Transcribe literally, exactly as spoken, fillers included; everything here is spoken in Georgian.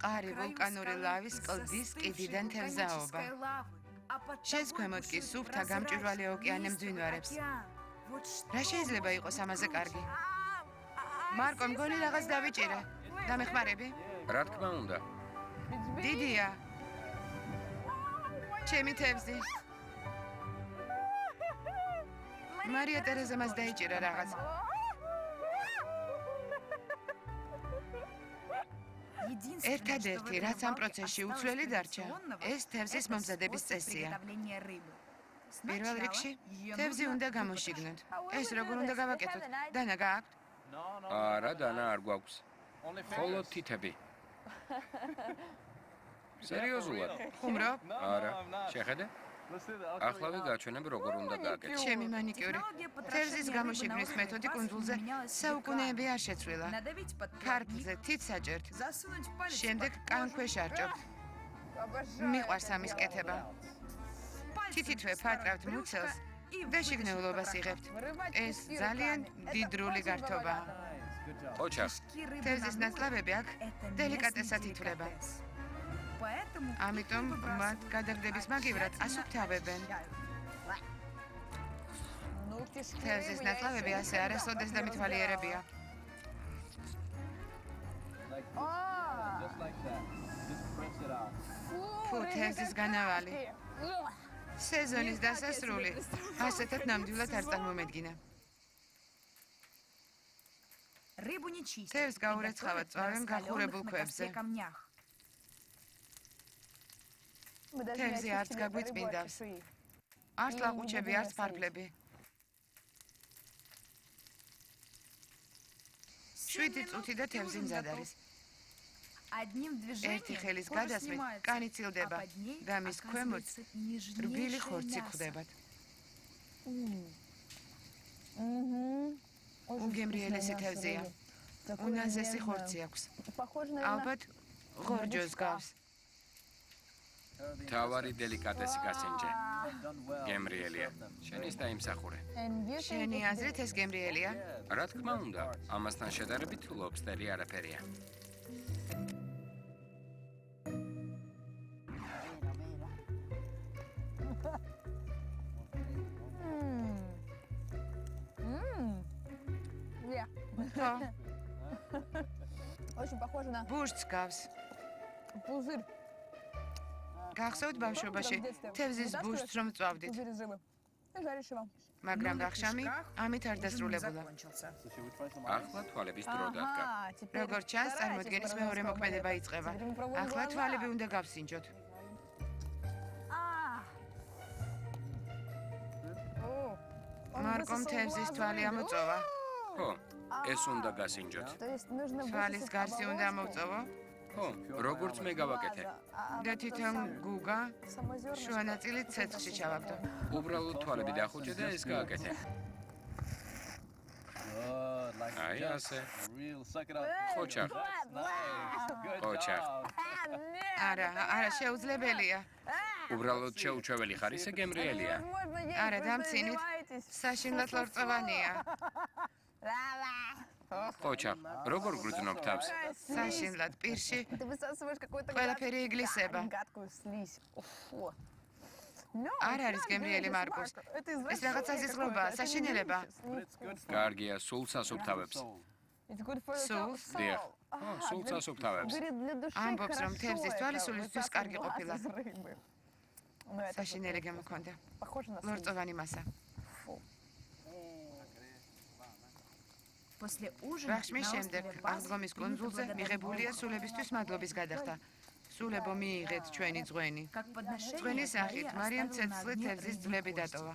ყარი ვულკანური ლავის კლდის კიდიდან თევზაობა. შენს ქვემოთ კი სუფთა გამჭვირვალე ოკეანე მძვინვარებს. რა შეიძლება იყოს ამაზე კარგი? მარკო, მგონი რაღაც დავიჭირე. დამეხმარები? რა თქმა უნდა. დიდია. ჩემი თევზი. მარია ტერეზა მას დაიჭირა რაღაც. ერთადერთი, რაც ამ პროცესში უცვლელი დარჩა, ეს თევზის მომზადების წესია. პირველ რიგში, თევზი უნდა გამოშიგნოთ. ეს როგორ უნდა გავაკეთოთ? დანა გააქვთ? არა, დანა არ გვაქვს. მხოლოდ თითები. სერიოზულად? ხუმრობ? არა, შეხედე? ახლა ვიგაჩვენებ როგორ უნდა გააკეთო. ჩემი მანიკიური. თევზის გამოშიგნის მეთოდი კუნძულზე საუკუნეები არ შეცვლილა. ქარგლზე თითს აჭერთ. შემდეგ კანქვეშ არჭობთ. მიყვარს ამის კეთება. თითითვე ფარტრავთ მუცელს და შიგნეულობას იღებთ. ეს ძალიან დიდრული გართობაა. ოჩახ. თევზის ნაწლავები აქ დელიკატესად ითვლება. ამიტომ მათ გადაგდების მაგივრად ასუფთავებენ. თევზის ნაწლავები ასე არასოდეს დამითვალიერებია. ფუ, თევზის განავალი. სეზონის დასასრული ასეთად ნამდვილად არ წარმომედგინა. თევზს გაურეცხავად წვავენ გახურებულ ქვებზე. თევზი არც გაგვიწმინდავს. არც ლაყუჩები, არც ფარფლები. შვიდი წუთი და თევზი მზად არის. ერთი ხელის გადასმით კანი ცილდება და მის ქვემოთ რბილი ხორცი გვხვდებათ. უგემრიელესი თევზია. უნაზესი ხორცი აქვს. ალბათ ღორჯოს გავს. თავარი დელიკატესი გასინჯე. გემრიელია. შენის დაიმსახურე. შენი აზრით ეს გემრიელია? რა თქმა უნდა, ამასთან შედარებით ლობსტერი არაფერია. ბურჯს გავს. გახსოვთ ბავშვობაში თევზის ბურჯს რომ წვავდით. მაგრამ ვახშამი ამით არ დასრულებულა. ახლა თვალების დრო დადგა. როგორც ჩანს, წარმოდგენის მეორე მოქმედება იწყება. ახლა თვალები უნდა გავსინჯოთ. მარკომ თევზის თვალი ამოწოვა. ხო, ეს უნდა გასინჯოთ. თვალის გარსი უნდა ამოვწოვო? ხო, როგორც მე გავაკეთე. და თვითონ გუგა შუა ნაწილი ცეცხლში ჩავაგდო. უბრალოდ თვალები დახუჭე და ეს გააკეთე. აი ასე. ოჩახ. ოჩახ. არა, არა, შეუძლებელია. უბრალოდ შეუჩვეველი ხარ, ისე გემრიელია. არა, დამცინით. საშინლად ლორწოვანია. ოჩახ, როგორ გრძნობ თავს? საშინლად პირში ყველაფერი იგლისება. არ არის გემრიელი მარკუს. ეს რაღაც საზიზღრობაა, საშინელება. კარგია, სულ სასუფთავებს. სულს? დიახ. ო, სულ სასუფთავებს. ამბობს, რომ თევზის თვალი სულისთვის კარგი ყოფილა. საშინელი გამოქონდა. ლორწოვანი მასა. ვახშმის შემდეგ აღდგომის კუნძულზე მიღებულია სულებისთვის მადლობის გადახდა. სულებო, მიიღეთ ჩვენი ძღვენი. ძღვენის სახით მარიამ ცეცხლი თევზის ძვლები დატოვა.